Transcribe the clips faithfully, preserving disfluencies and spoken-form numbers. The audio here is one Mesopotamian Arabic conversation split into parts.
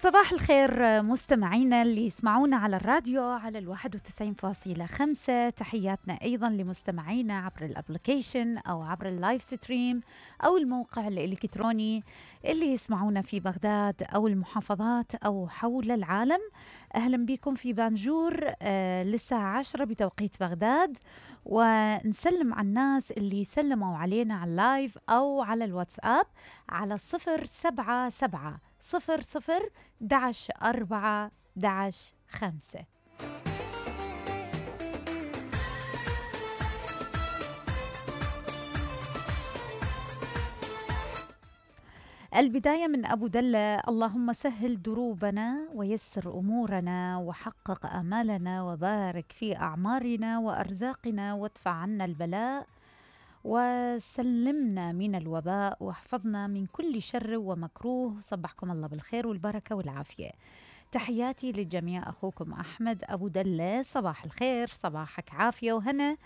صباح الخير مستمعينا اللي يسمعونا على الراديو على الواحد وتسعين فاصلة خمسة. تحياتنا أيضا لمستمعينا عبر الابليكيشن أو عبر اللايف ستريم أو الموقع الإلكتروني اللي يسمعونا في بغداد أو المحافظات أو حول العالم. أهلا بكم في بانجور آه للساعة عشرة بتوقيت بغداد، ونسلم على الناس اللي سلموا علينا على اللايف أو على الواتساب على صفر سبعة سبعة صفر صفر دعش أربعة دعش خمسة. البداية من أبو دلة: اللهم سهل دروبنا ويسر أمورنا وحقق آمالنا وبارك في أعمارنا وأرزاقنا وادفع عنا البلاء وسلمنا من الوباء واحفظنا من كل شر ومكروه. صبحكم الله بالخير والبركة والعافية. تحياتي للجميع، أخوكم أحمد أبو دلة. صباح الخير، صباحك عافية وهنا،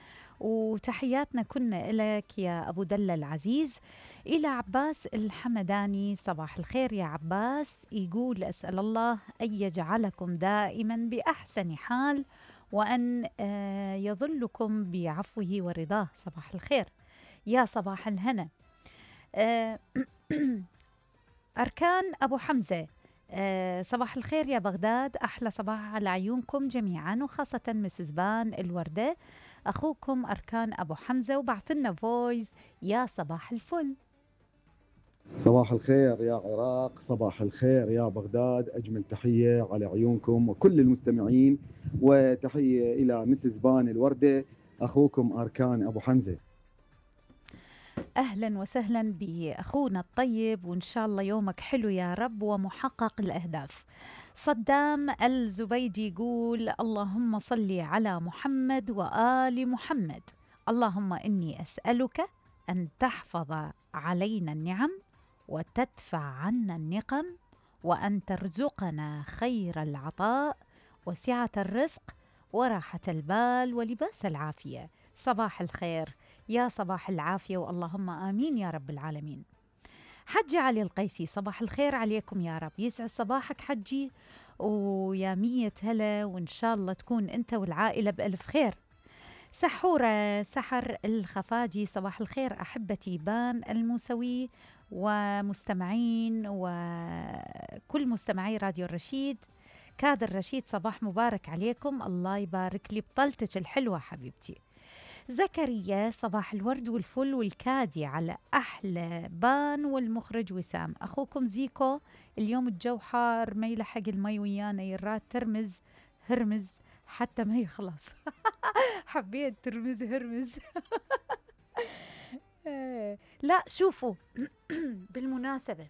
وتحياتنا كنا إلك يا أبو دلة العزيز. إلى عباس الحمداني: صباح الخير يا عباس. يقول: أسأل الله أن يجعلكم دائما بأحسن حال وأن يظلكم بعفوه ورضاه. صباح الخير يا صباح الهنا. أركان أبو حمزة: أه صباح الخير يا بغداد، أحلى صباح على عيونكم جميعا وخاصة مسز بان الوردة. أخوكم أركان أبو حمزة، وبعثلنا فويس يا صباح الفل. صباح الخير يا عراق، صباح الخير يا بغداد، أجمل تحية على عيونكم وكل المستمعين، وتحية إلى مسز بان الوردة، أخوكم أركان أبو حمزة. أهلا وسهلا بأخونا الطيب، وإن شاء الله يومك حلو يا رب ومحقق الأهداف. صدام الزبيدي يقول: اللهم صل على محمد وآل محمد. اللهم إني أسألك أن تحفظ علينا النعم وتدفع عنا النقم، وأن ترزقنا خير العطاء وسعة الرزق وراحة البال ولباس العافية. صباح الخير يا صباح العافية، واللهم آمين يا رب العالمين. حجي علي القيسي: صباح الخير عليكم يا رب، يسعد صباحك حجي ويا مية هلا، وإن شاء الله تكون أنت والعائلة بألف خير. سحورة سحر الخفاجي: صباح الخير أحبتي بان الموسوي ومستمعين وكل مستمعي راديو الرشيد. كادر رشيد: صباح مبارك عليكم، الله يبارك لي بطلتك الحلوة حبيبتي. زكريا: صباح الورد والفل والكادي على أحلى بان والمخرج وسام. أخوكم زيكو: اليوم الجو حار ما يلحق المي ويانا، يراد ترمز هرمز حتى ما يخلص. حبيت ترمز هرمز. لا شوفوا، بالمناسبة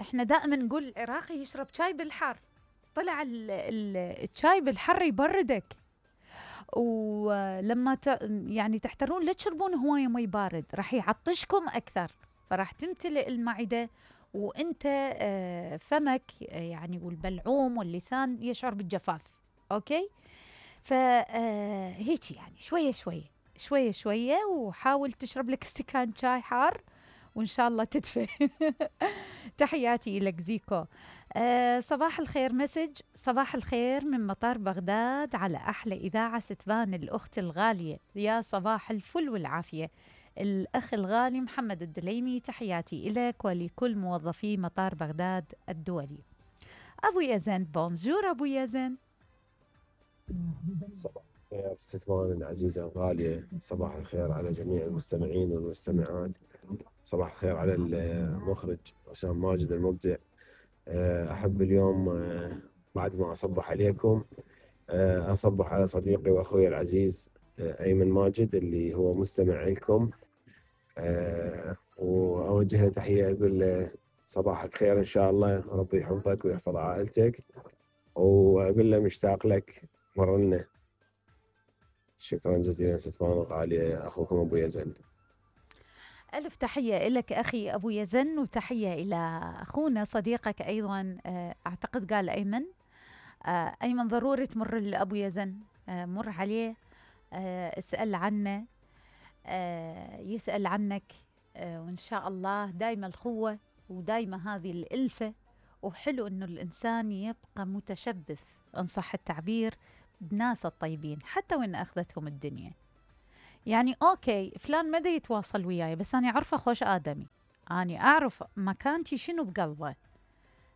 احنا دائما نقول العراقي يشرب شاي بالحر، طلع الشاي بالحر يبردك، ولما ت... يعني تحترون لا تشربون هواية مي بارد راح يعطشكم أكثر، فراح تمتلئ المعدة وانت فمك يعني والبلعوم واللسان يشعر بالجفاف. اوكي، فهيك يعني شوية شوية شوية شوية، وحاول تشرب لك استكان شاي حار وإن شاء الله تدفى. تحياتي لك زيكو. أه صباح الخير مسج: صباح الخير من مطار بغداد على أحلى إذاعة ستبان الأخت الغالية. يا صباح الفل والعافية الأخ الغالي محمد الدليمي، تحياتي إليك ولكل موظفي مطار بغداد الدولي. أبو يزن: بونجور أبو يزن. صباح الخير ستبان العزيزة الغالية، صباح الخير على جميع المستمعين والمستمعات، صباح الخير على المخرج وسام ماجد المبدع. أحب اليوم بعد ما أصبح عليكم أصبح على صديقي وأخوي العزيز أيمن ماجد اللي هو مستمع لكم، وأوجه له تحية أقول له صباحك خير إن شاء الله، ربي يحفظك ويحفظ عائلتك، وأقول له مشتاق لك مرنا. شكرا جزيلا ستبان الغالية، أخوكم أبو يزن. ألف تحية لك أخي أبو يزن، وتحية إلى أخونا صديقك أيضا، أعتقد قال أيمن. أيمن ضروري تمر لأبو يزن، مر عليه اسأل عنه، يسأل عنك، وإن شاء الله دايما الخوة ودايما هذه الألفة وحلو إنه الإنسان يبقى متشبث إن صح التعبير بناس الطيبين حتى وإن أخذتهم الدنيا. يعني أوكي فلان ما دا يتواصل وياي بس أنا أعرفه خوش آدمي، أنا أعرف مكانتي شنو بقلبه،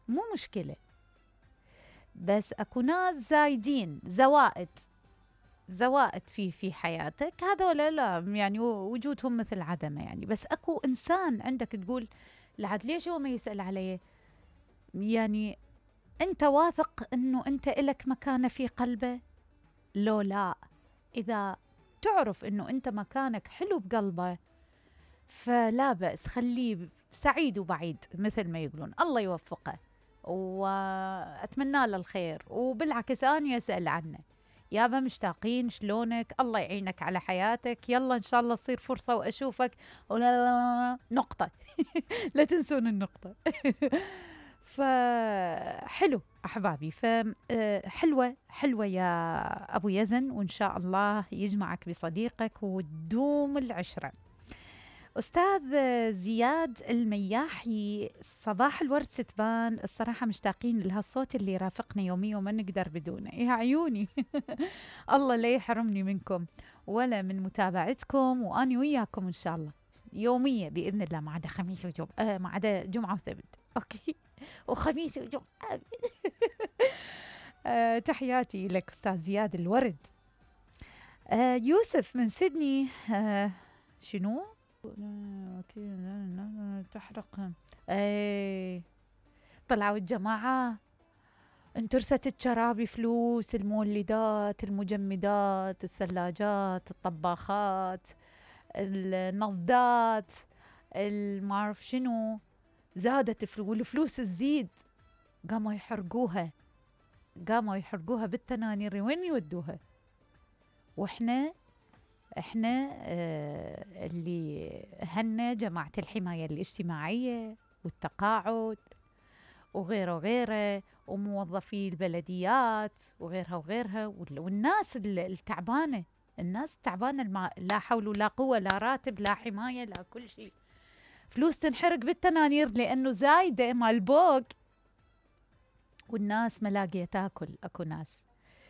مو مشكلة. بس أكو ناس زايدين زوائد زوائد في في حياتك، هذا ولا لا يعني وجودهم مثل عدمه يعني. بس أكو إنسان عندك تقول لعد ليش هو ما يسأل عليه؟ يعني أنت واثق أنه أنت إلك مكانة في قلبه؟ لو لا، إذا تعرف أنه أنت مكانك حلو بقلبه فلا بأس، خليه سعيد وبعيد مثل ما يقولون. الله يوفقه وأتمنى له الخير، وبالعكس أنا أسأل عنه، يابا مشتاقين شلونك، الله يعينك على حياتك، يلا إن شاء الله تصير فرصة وأشوفك ولا لا لا نقطة لا تنسون النقطة. فحلو أحبابي، فحلوة حلوة يا أبو يزن، وإن شاء الله يجمعك بصديقك وتدوم العشرة. أستاذ زياد المياحي، صباح الورد ستبان، الصراحة مشتاقين لهالصوت اللي يرافقنا يوميا وما نقدر بدونه. يا عيوني الله لا يحرمني منكم ولا من متابعتكم، وأنا وياكم إن شاء الله يومية بإذن الله، ما عدا خميس وجمعة، آه ما عدا جمعة وسبت، أوكي، وخميس وجمعة. آه تحياتي لك أستاذ زياد الورد. آه يوسف من سيدني، آه شنو؟ اوكي تحرق. اي طلعوا الجماعة انترست الشرابي فلوس، المولدات، المجمدات، الثلاجات، الطباخات، النضات، المعرف شنو، زادت الفلوس والفلوس تزيد، قاموا يحرقوها قاموا يحرقوها بالتنانير، وين يودوها؟ واحنا احنا آه اللي هنا جماعة الحماية الاجتماعية والتقاعد وغيره وغيره، وموظفي البلديات وغيرها وغيرها، والناس التعبانة، الناس التعبانة الما لا حول ولا قوة، لا راتب لا حماية لا كل شيء، فلوس تنحرق بالتنانير لأنه زايدة مال بوق، والناس ملاقية تاكل. أكو ناس،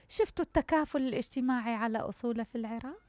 شفتوا التكافل الاجتماعي على أصوله في العراق؟